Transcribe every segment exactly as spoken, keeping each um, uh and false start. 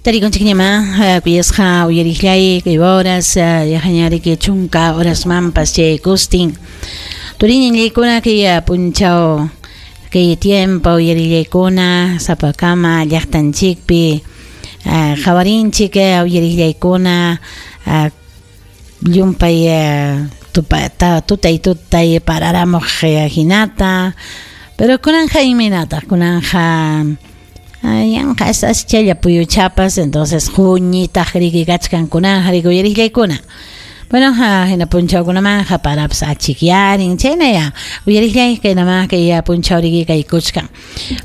Tarikunchikñamá kuyasqa uyariqllay kay horas yaqañariki chunka horasmanpas chaykustin turiñallaykuna kay punchaw kay tiempo uyarillaykuna sapakama llaqtanchikpi qhawarinchik uyarillaykuna llumpay tupa tutay tutay pararamuq hinata pero kunanja imaynataq kunanja yanqa aschalla puyuchapas entonces quñitaq riki kachkan kunanja riki uyariqllaykuna. Bueno, hina punchawkunamanja parapas achikyarin chaynaya uyariqllay kaynamá kay punchaw riki kaykuchkan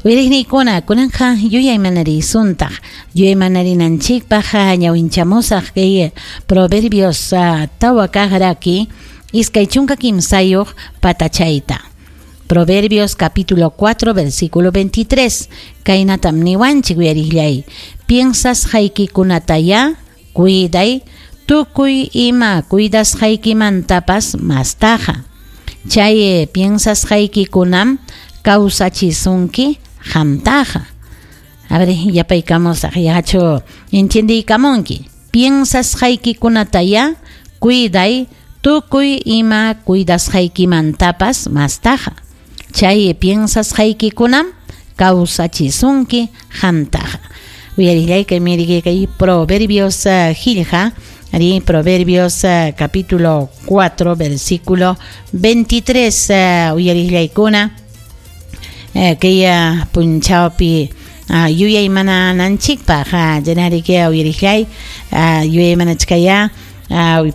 uyariqniykuna kunanja yuyaymanarisuntaq yuyaymanarinanchispak ñawinchamusaq kay Proverbios tawa kaq raki iskay chunka kimsayuq patachayta. Proverbios capítulo cuatro, versículo veintitrés. Kaynatam niwanchik uyariqllay. Piensasqaykikunataya cuiday, tukuy ima cuidasqaykimantapas mastaqa. Chay piensasqaykikunam kawsachisunki qamtaqa. A ver, yapaykamusaq yachu entiendiykamunki. Piensasqaykikunataya cuiday, tukuy ima cuidasqaykimantapas mastaqa. Chay piensasqaykikunam kawsachisunki qamtaqa. Uyariqllay kay miriki kay Proverbios qillqa, ari Proverbios capítulo cuatro, versículo veintitrés, uyariqllaykuna kay punchawpi yuyaymanananchikpaq llenariki uyariqllay yuyaymanachkaya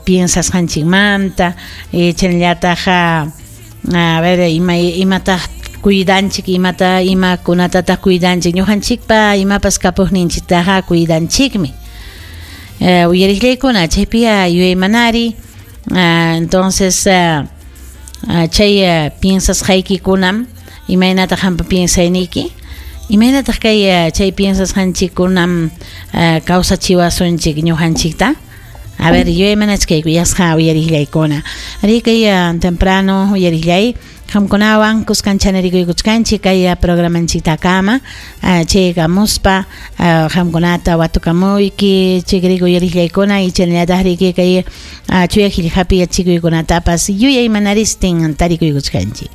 piensasqanchikmanta chaynallataq a ver ima imataq cuidanchik imata imakunatataq cuidanchik ñuqanchikpa imapas kapuqninchiktaqa cuidanchikmi uyariqllaykuna chaypi yuyaymanari entonces chay piensasqaykikunam imaynataq qampa piensayniyki imaynataq kay chay piensasqanchikkunam kawsachiwasunchik ñuqanchikta. A ver, yuyaymanachkayku yasqa uyariqllaykuna. Ari kay temprano uyariqllay qamkunawan kuskanchanerikuykuchkanchik kay programanchiktakama chaykamuspa qamkunata watukamuyki chikriku uyariqllaykuna y chaynallataq riki kay chuya qillqapi yachikuykunatapas yuyaymanaristin tarikuykuchkanchik.